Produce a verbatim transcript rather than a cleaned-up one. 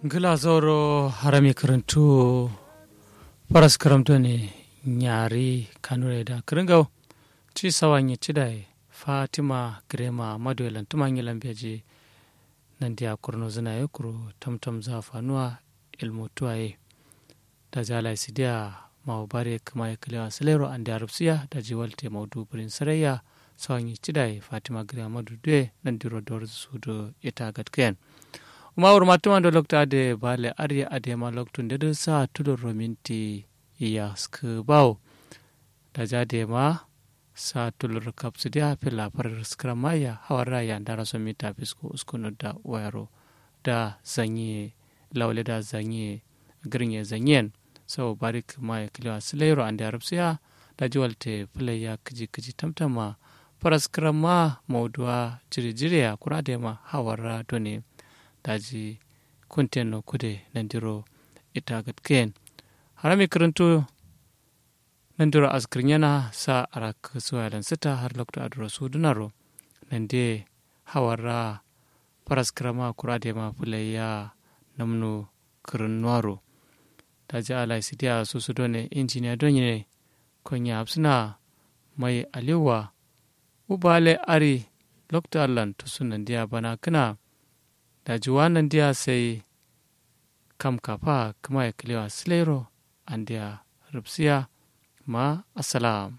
Ngla zauro harami kǝrǝntu. Faras kǝram done nyari kanure da kǝrǝngau. Ci sawa nye cidaye fatima gǝrema maduwe lantuma nye lambeji. Nandiya kurno zǝnaye kuru tamtam za fanuwa ilmutuwaye. Daji alayi sidiya mawu bare kǝmaye kǝlewa sǝlero andiya rubsiya daji walte maudu bǝrin saraiya. Sawanyi cidaye fatima gǝriya maduduwe nandiro dorzǝ sudu ita gatkiyen. Uma wurma tumando loktu ade bale ariye adema loktu ndedǝ sa tulurro minti yaskǝ bawo. Daji adema sa tulurro kapsǝdiya filla farar skǝramma ya hawarra ya ndaraso mita fisko uskunu da wayaro. Da zanyiye laule da zanyiye gǝrnye zanyiyen. Sau barik maye kǝlewa sǝlairo andiya rubsiya. Daji walte fǝlaiya kǝji kǝji tamtamma faras kǝramma mauduwa jiri jiriya kura dema hawarra done. Daji kunten no kude nandiro ita gǝtkiyen. Harami kǝrǝntu nandiro askǝrnyena sa arakkǝ suwaye lansǝta har loktu aduro sudunaro. Nandiye hawarra faras kǝrama kura dema fǝlaiya namnu kǝrǝnnuwaro. Daji alayi sidiya susu done injiniya done. Konye hafsǝna mai aliwwa. Ubale ari loktu allan tusu nandiya bana kǝna. Daji wa nandiya sai kam kafa kǝmaye kǝlewa sǝlairo andiya rubsiya. Ma assalam.